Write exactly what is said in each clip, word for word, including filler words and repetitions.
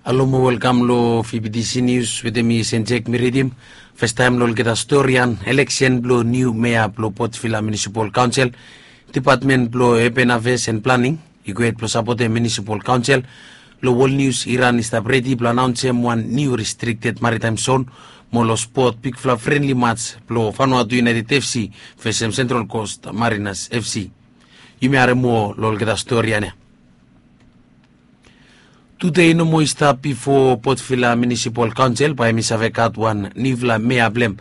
Alo mo welkam lo F B T C News wetem mi Senjek. Mi ridim. Festaem lo olgeta storian eleksen blo niu mea blo Port Vila Municipal Council, Dipatmen blo Urban Affairs and Planning i go hed blo sapotem Municipal Council. Lo World News, Iran i stap redi blo anaonsem wan niu restricted maritime zone mo lo spot bigfala friendly match blo Vanuatu United F C vesem Central Coast Mariners F C. Yumi harem moa lo olgeta storian ya. Tude i no moa i stap bifo Port Vila Municipal Council bae hemi save gat wan niufala mea blem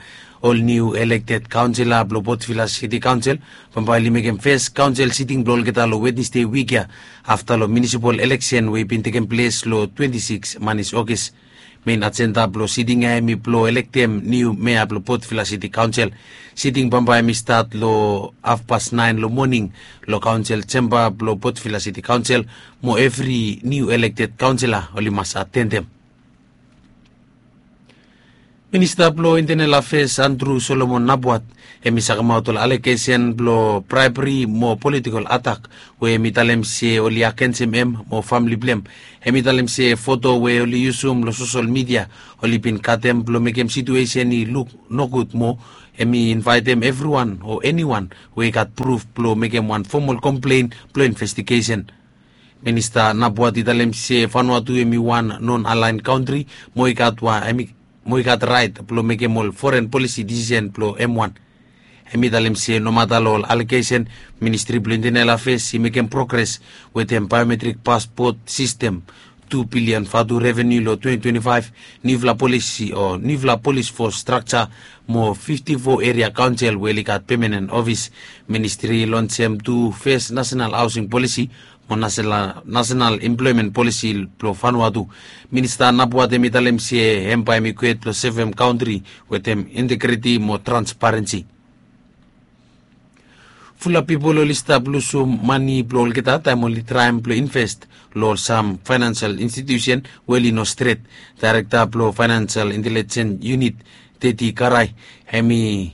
ol niu elekted kaonsela blo Port Vila City Council. Bambae oli mekem fes kaonsel siting blo olgeta lo Wednesde wik ya, afta lo municipal eleksen we i bin tekem ples lo twenti sikis manis Ogis. Mein ajenda blo siting ya hemi blo elektem niu mea blo Port Vila City Council. Siting bambae hemi stat lo hafpas naen lo moning lo kaonsel jemba blo Port Vila City Council, mo evri niu elekted kaonsela oli mas atendem. Minista blo Internal Affairs Andrew Solomon Napuat hemi sakemaot ol alegesen blo braebri mo politikol atak we hemi talem se oli agensem hem mo famle blem. Hemi talem se foto we oli yusum lo sosel midia oli bin katem blo mekem situesen i luk nogud moa. Hemi invaetem evriwan o eniwan we i gat pruf blo mekem wan fomol komplen blo investigesen. Minista Napuat i talem se Vanuatu hemi wan non-aligned kantri mo i gat wan hemi mo i gat raet blo mekem ol foren polisi disisen blo hem wan. Hemi talem se nomata lo ol alegesen, Ministri blo Internal Affairs i mekem progres wetem biometrik paspot sistem, tu bilian vatu revenu lo twenti twenti faef, niufala polisi o niufala polis fos strakja mo fifti fo eria kaonsel we oli gat pemanen ofis. Ministri i lonsem tu fes nasenal haosing polisi mo nasenal emploemen polisi blo Vanuatu. Minista Napuat hemi talem se hem bae hemi kwet blo sevem kantri wetem integriti mo transparensi. Fula pipol oli stap lusum mane blo olgeta taem oli traem blo invest lo sam faenansial institusen we oli no stret. Daerekta blo Faenansial Intelijens Yunit, Teti Karai, hemi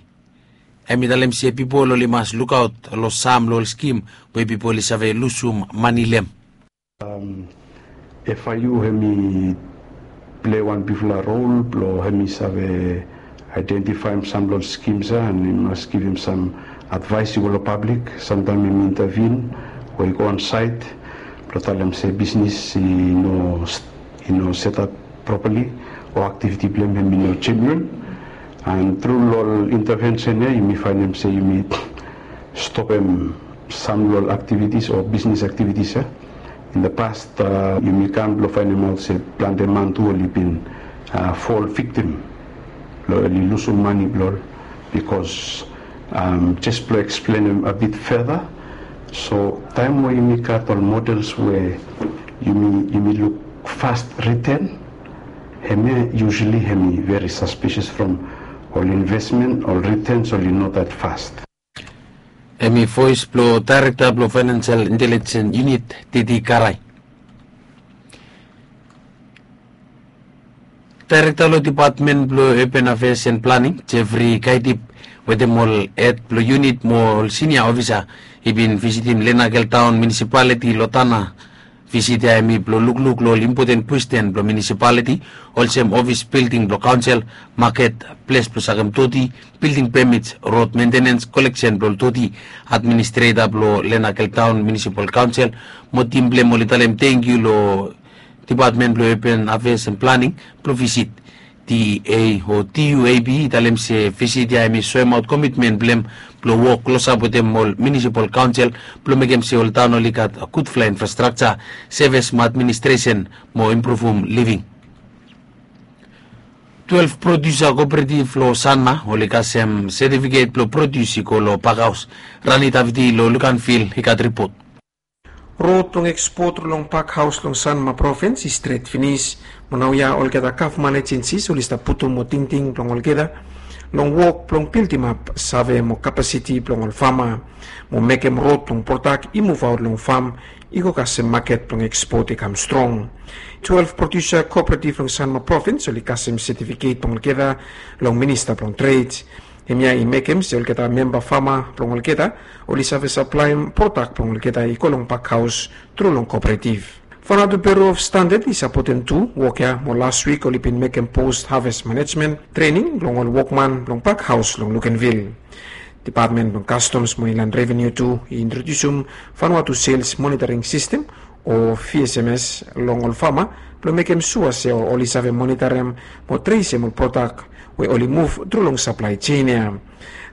hemi talem se pipol oli mas lukaot lo sam lo ol skim we pipol oli save lusum mane lo hem. F I U hemi plei wan bigfala rol blo hemi save aedentifaem sam lo ol skims ya, and i mas givim sam advaes i go lo pablik. Samtaem hemi intavin o i go on saet blo talem se bisnis i no i no setap propali o aktiviti blo hem hemi no jeniuen. And tru lo ol intavensen ya yumi faenem se yumi stopem sam lo ol aktivitis o bisnis aktivitis ya. In the past, yumi kam blo faenemaot se plante man tu oli bin fol viktim blo oli lusum mane blo ol. Bikos jes blo eksplenem a bit feta, so taem we yumi gat ol models we yumi yumi luk fast riten, hemia usually hemi veri saspisias from ol investmen, ol ritens oli no dat fast. Hemi voes blo daerekta blo Faenansial Intelijens Yunit, Teti Karai. Daerekta lo Dipatmen blo Urban Affairs and Planning, Jeffrey Kaitip, wetem ol hed blo yunit mo ol sinia ofisa i bin visitim Lenakel Taon Munisipaliti lo Tanna. Visit ya hemi blo lukluk lo ol impoten kwesten blo munisipaliti, olsem ofis bilding blo kaonsel, maket, ples blo sakem doti, bilding pemits, rod mentenens, koleksen blo ol doti. Administreta blo Lenakel Taon Munisipal Kaonsel mo tim blo hem oli talem tangkiu lo Dipatmen blo Urban Affairs and Planning blo visit. D A o D U A B i talem se visit ya hemi soemaot komitmen blo hem blo wok klosap wetem ol munisipal kaonsel blo mekem se ol taon oli gat gudfala infrastrakja, sevis mo administresen mo impruvum living. Twelef prodiusa kooperativ lo Sanma oli kasem setifiket blo prodius i go lo pakhaos. Rani Davidi lo Lukanvil i gat ripot. Rod blong ekspot tru long pakhaos long Sanma provins i stret finis. Mo naoia olgeta gavman ejensis oli stap putum tingting blong olgeta long wok blong bildimap save mo kapasiti blong ol fama mo mekem rod blong prodak i muvaot long fam i go kasem maket blong ekspot i kam strong. Twelef prodiusa kooperativ long Sanma provins oli kasem setifiket blong olgeta long minista blong tred. Hemia i mekem se olgeta memba fama blong olgeta oli save saplaem prodak blong olgeta i go long pakhaos tru long kooperativ. Vanuatu Bureau of Standard i sapotem tu wok ya mo las wik oli bin mekem post harvest management trening blong ol wokman blong pak haos long Luganville. Depatmen blong Customs mo Inland Revenue tu i introdiusum Vanuatu Sales Monitoring System o V S M S long ol fama blong mekem sua se oli save monitorem mo tresem ol prodak we oli muv tru long saplae jein ya.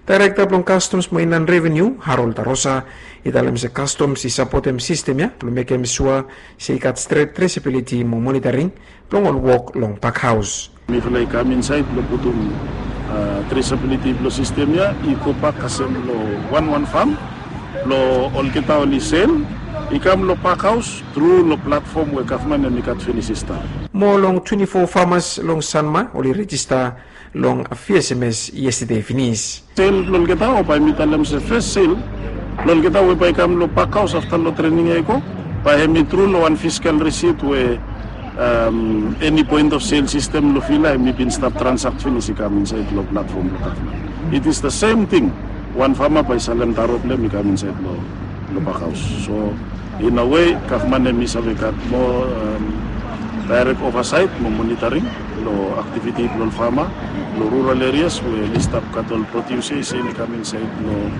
Daerekta blong Customs mo Inland Revenue, Harold Tarosa, i talem se Customs i sapotem sistem ya blong mekem sua se i gat stret tresabiliti mo monitoring blong ol wok long pak haos. Mifala i kam insaed blong putum tresabiliti blong sistem ya i go bak kasem long wanwan fam blong olgeta oli sel i kam long pak haos tru long platfom we gavman hem i gat finis i stap. Moa long twenti fo famas long Sanma oli rejista long V S M S yestade finis. Sel blong olgeta o bae mi talem se fes sel blong olgeta we bae i kam long pak haos afta long trening ya i go, bae hem i tru long wan fiskal risit we eni poen of sel sistem long Vila hem i bin stap transakt finis i kam insaed long platfom blong gavman. It is the same thing. Wan fama bae i salem taro blong hem i kam insaed long pak haos. So in a way gavman hem i save gat moa daerek ovasaet mo monitoring long aktiviti blong ol fama long rural erias we oli stap gat ol prodiusa i sel i kam insaed long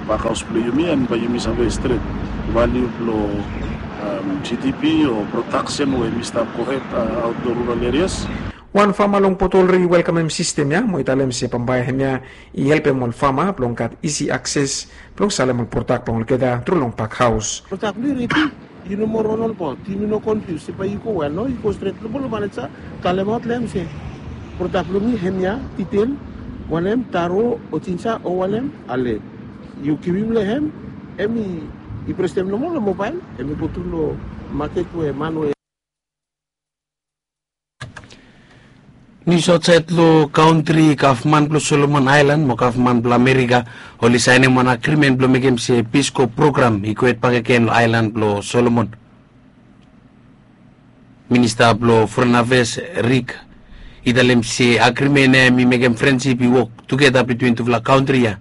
pak haos blong yumi, and bae yumi save stret valiu blong GDP o prodaksen we hem i stap gohed aot long rural erias. Wan fama long Port Olry i welkamem sistem ya mo i talem se bambae hemia i helpem ol fama blong gat isi akses blong salem ol prodak blong olgeta tru long pak haos. Prodak blong yu redi, yu no moa ron olbaot, yumi no konfius se bae yu go wea. No, yu go stret long bolo maneja, talemaot long hem se prodak blong mi hemia, ditel, wanem, taro o jinja o wanem, ale yu givim long hem, hem i prestem nomo long mobael, hem i go tru long maket we man we Nius aotsaed long kantri. Gavman blong Solomon Aelan mo gavman blong Amerika oli saenem wan agrimen blong mekem se Peace Corps program i gohed bakegen long aelan blong Solomon. Minista blong Foren Afeas Rick i talem se agrimen ya hem i mekem frensip i wok tugeta bitwin tufala kantri ya.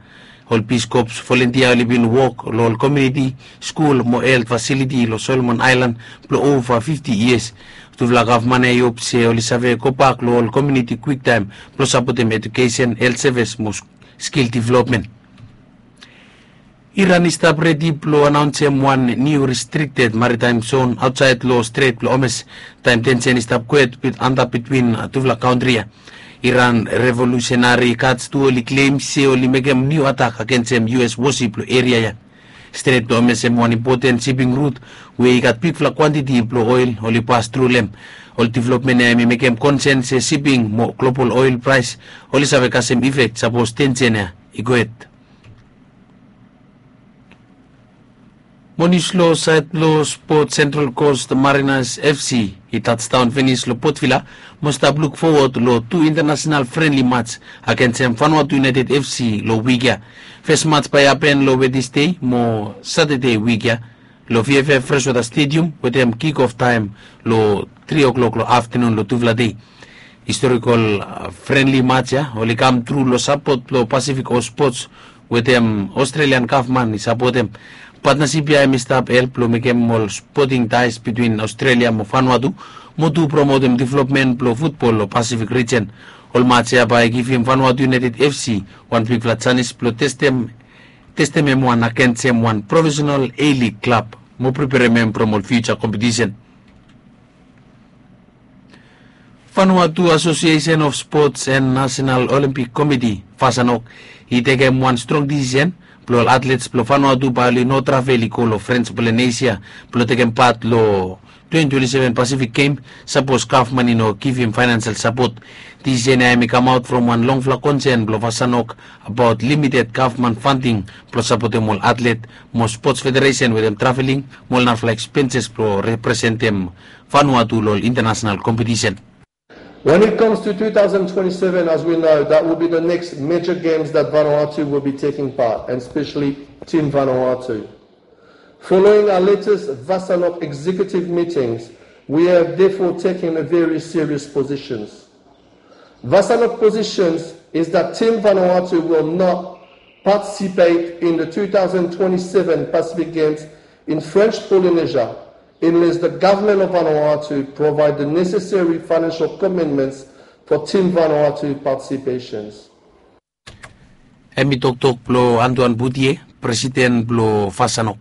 Ol Peace Corps volentia oli bin wok long ol komuniti, skul mo helt fasiliti long Solomon Aelan blong ova fifti yias. Tufala gavman ya i hop se oli save gobak long ol komuniti kwiktaem blong sapotem ejukesen, helt sevis mo skil developmen. Iran i stap redi blong anaonsem wan niu restrikted maritaem zon aotsaed long Stret blong Homes taem tensen i stap gohed antap bitwin tufala kantri ya. Iran Revolusenari Gad tu oli klem se oli mekem niu atak agensem U S wosip long eria ya. Stret blong Homes hem wan impoten siping rut we i gat bigfala kwantiti blong oel oli pas tru long hem. Ol developmen ya hem i mekem konsen se siping mo global oel praes oli save kasem ifek sapos tensen ya i gohed. Mo nius long saed blong spot, Central Coast Mariners F C i tajdaon finis long Port Vila mo stap luk fowod long tu intanasenal frenli mats agensem Vanuatu United F C long wik ya. Fes mats bae i hapen long Wednesday mo Satade wik ya long V F F Freshwater Stadium wetem kick off taem long tri o'clock long aftenun long tufala dei. Historikol frenli mats ya oli kam tru long sapot blong Pacific Host Sports wetem Australian gavman i sapotem. Patnasip ya hem i stap help blong mekem ol spoting taes bitwin Australia mo Vanuatu mo tu promotem developmen blong futbol long Pacific rijen. Ol mats ya bae i givim Vanuatu United F C wan bigfala janis blong testem, testem hem wan agensem wan profesenal A-League klab mo preperem hem from ol fiuja kompetisen. Vanuatu Association of Sports and National Olympic Committee, Vasanok, i tekem wan strong disisen blong ol atlets blong Vanuatu bae oli no travel i go long French Polynesia blong tekem pat long twenty twenty-seven Pacific Game sapos gavman i no givim financial sapot. Disisen ya hem i kamaot from wan longfala konsen blong Vasanok abaot limited gavman fanding blong sapotem ol atlet mo spots federesen wetem traveling mo ol narafala ekspenses blong representem Vanuatu long ol intanasenal kompetisen. When it comes to two thousand twenty-seven, as we know, that will be the next major games that Vanuatu will be taking part, and especially Team Vanuatu. Following our latest Vasanok executive meetings, we have therefore taken a very serious positions. Vasanok positions is that Team Vanuatu will not participate in the two thousand twenty-seven Pacific Games in French Polynesia Unless the government of Vanuatu provide the necessary financial commitments for Team Vanuatu participations. Hem i toktok blong Antoan Butie, presiden blong Fasanok.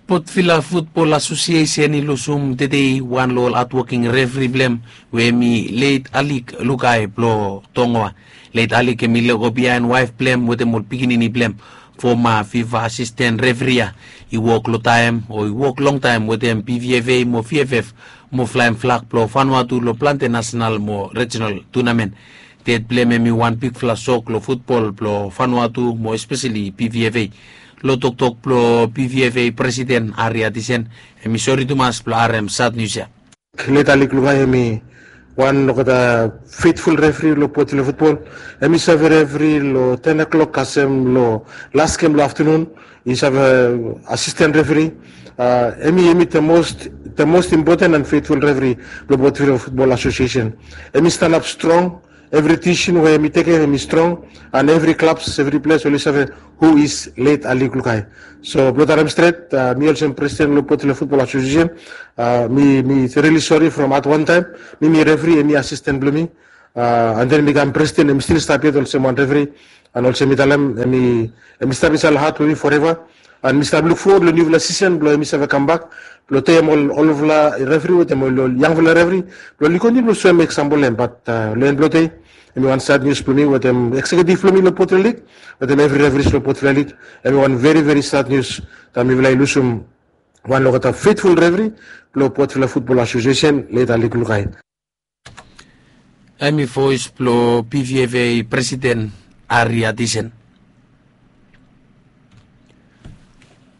Potvila Futbol Asosiesen i lusum tedei wan long ol hatwoking refri blong hem, we hem i Leit Alik Lukai blong Tongoa. Leit Alik hem i lego biaen waef blong hem wetem ol pikinini blong hem. Foma fifa asisten refri ya i wok long taem o i wok longtaem wetem pvfa mo vff mo flaem flak blong Vanuatu long plante nasenal mo rejinal tunamen. Ded blong hem hem i wan bigfala sok long futbol blong Vanuatu mo espeseli pvfa. Long toktok blong pvfa presiden Ari Atisen, hem i sori tumas blong harem sad nius ya. Leit Alik Lukai hem i wan olgeta feitful refri long Potvila Futbol. Hem i save refri long ten o'clock kasem long las gem long aftenun. I save asisten refri. Hem i hem i the most the most important and feitful refri blong Potvila Futbol Asosiesen. Hem i stanap strong. Evri disisen we hem i tekem hem i strong. And evri klabs evri ples oli save hu is Leit Alik Lukai. So blong talem stret, mi olsem presiden blong Potvila Futbol Asosiesen, mi mi rili sori from at wan taem mi mi refri, hem i asisten blong mi. And then mi kam presiden, hem i stil stap yet olsem wan refri. And olsem mi talem, hem i hem i stap insait long hat blong mi foreva. And mi stap lukfowod long niufala sisen blong hem i save kambak blong tekem ol olfala refri wetem ol ol yangfala refri blong oli kontiniu blong soem eksampol blong hem. Bat long en blong dei, hem i wan sad nius blong mi wetem ekseketif blong mi long Potvila Lig wetem evri refris long Potvila Lig. Hem i wan veri veri sad nius taem mifala i lusum wan long olgeta feitful refri blong Potvila Futbol Asosiesen, Leit Alik Lukai. Hem i voes blong pvfa presiden Ari Atisen.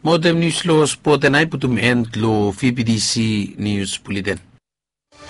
Mo wetem nius long spot ya nao i putum en long vptc nius buleten.